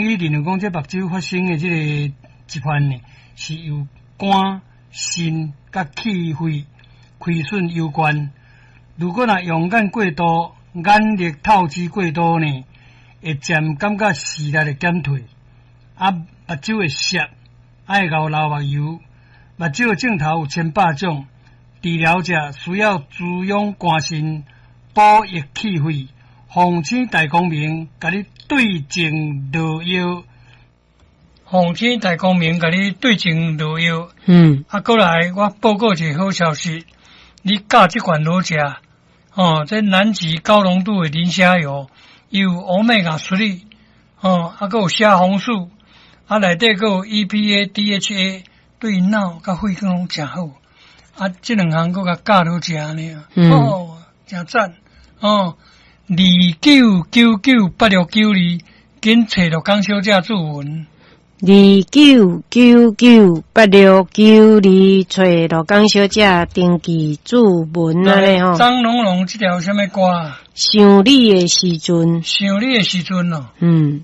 醫認為講，這目睭發生的這個疾患呢，是由肝、腎佮氣血虧損有關。如果若用眼過度，眼力透支過度呢，會漸感覺視力會減退，啊，目睭會澀，愛𠢕流目油。目睭的症頭有千百種，治療者需要滋養肝腎，補益氣血。奉請大光明，共你對症落藥。奉請大光明，共你對症落藥。啊，過來，我報告一個好消息，你佮這款好食，哦，這南極高濃度的磷蝦油，有歐米伽3，哦，啊，閣有蝦紅素，啊，內底閣有 EPA、DHA，對腦佮血管攏誠好。啊，這兩項閣共加落食呢，哦，誠讚，哦。29998692，緊揣鹿港小姐注文。29998692，揣鹿港小姐登記注文按呢吼。張龍龍，這條啥物歌？想你的時陣。想你的時陣哦。嗯。